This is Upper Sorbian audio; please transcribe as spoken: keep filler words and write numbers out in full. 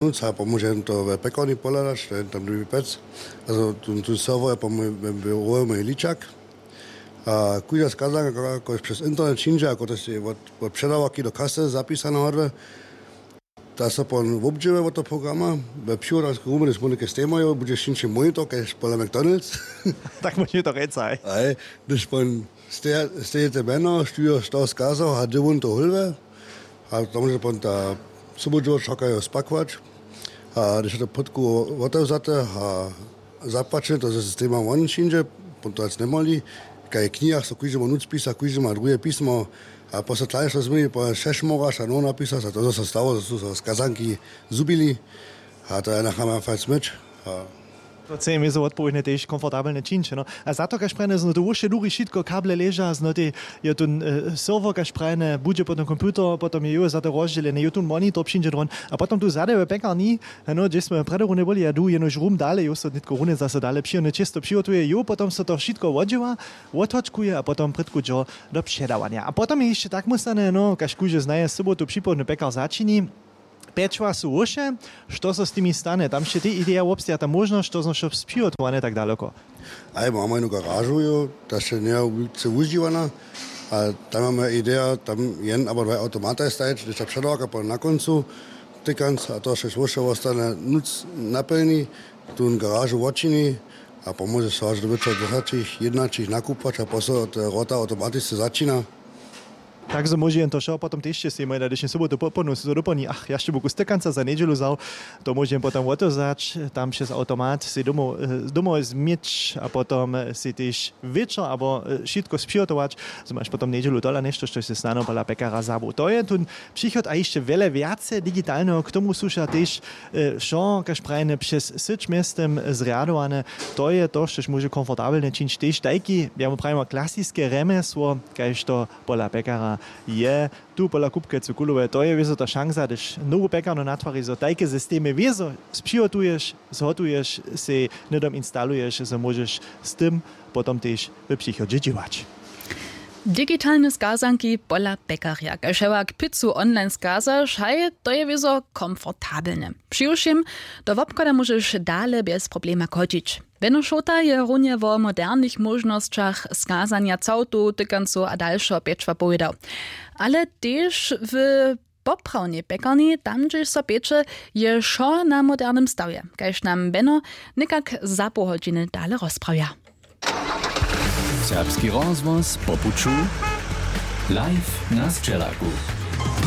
nutř a pomóže jim to w pjekarni pohladać, to je tam druhi pjec. Also tu, tu serwer je po mój, we, we, mój ličak. A kóžda skazanka, ako přez internet přińdźe, ako to je od, od předawarki do kasy zapisane hodle, ta so pon wobdźěłuje od toho programa. We přiwodarsku rumry smu něke stejmajo, budźe šinči monitor kaž pola McDonald's. Tak móže to rěcaj. Aj, hdyž pon steje, stejete mjeno, študiješ to skazał a dźe wón to hólwe. A to móže pon ta sobudźeło čakajo spakować. A hdyž je to podku wotewzate a zapłaćene, to systema won přińdźe, pon to hač njemali. Kaj w knihach so kóždemu nutř pisa, kóždy ma druhe pismo. A posle tlańšo změni po šešmoraš a no napisać a to zo so stało, zo su so skazanki zhubili. A to je nachama fajn smyć. A to chce jim wězo wotpowědnje tež komfortabelne čińć, no. A za to kaž prajene zno to wuše dury wšitko, kable leža zno te, je tu, e, serwer kaž prajene budźe potom computer, potom je jo za to rozdźělene, jo tu monitor přińdźe dron. A potom tu zady w pjekarni, no, hdźež smy prjedy runje byli, ja du jenož rum dale, jo so nětko runje zaso dale přijony čěsto přihotuje, jo potom so to wšitko wodźěła, wothočkuje a potom prědku dźo do předawanja. A potom je hišće tak móstane, no, kaž kóždy znaje, sobotu připołdnju pjekar začini. Pječła su wuše, što so z timi stane? Tam sće tej ideja wobsteja, ta móžnosć, što znowšo přihotowane tak daloko. Aj, mamy jednu garažu, jo, ta sće njeje wulce wužiwana. A tam mamy ideja, tam jen abo dwaj automataj stajeć, hdyž ta předawarka pon na kóncu, tykanc a to sće wuše wostane nutř naplni, tu garažu wočini a pomóže so hač do wječora dwjesaćich, jědnaćich nakupować a posle te wrota automatisce začina. Tak zo móže jen to wšo potom tež sej mój na dnešnu sobotu popołdnju so doplni, ach, ja sće buku stekanca za njedźelu wzał, to móže jen potom wotewzać tam přez automat sej domoł, e, domoł změć a potom, e, sej tež wječor abo, e, wšitko spřihotować, zo maš potom njedźelu tola něšto, štož sej snano pola pekara zabył. To je tón přichod a hišće wjele wjace digitalneho. K tomu su wšak tež, e, wšo kaž prajene přez syć mjeztym zrjadowane. To je to, štož móže komfortabelnje čińć tež tajki, ja mu prajimo, klasiske rjemjesło, kaž to pola pekara je. Tu pola kupkecu kulowe, to je wězo ta šansa, hdyž nowu pjekarnu natwari, zo tajke systemy wězo spřihotuješ, zhotuješ, sej hnydom instaluješ, zo móžeš z tym potom tež w přichodźe dźěłać. Digitalne skazanki pola pjekarja, kaž hewak pizzu online skazaš, haj, to je wězo komfortabelne. Přiwšěm do wobchoda móžeš dale bjez problema chodźić. Beno Šołta je runje wo modernych móžnosćach skazanja całtow, tykancow a dalšeho pječła powědał. Ale tež w poprawnej pjekarni, tam hdźež so pječe, je wšo na modernym stawje, kaž nam Beno někak za poł hodźiny dale rozprawja. Serbski rozhłos po puću, live na sćelaku.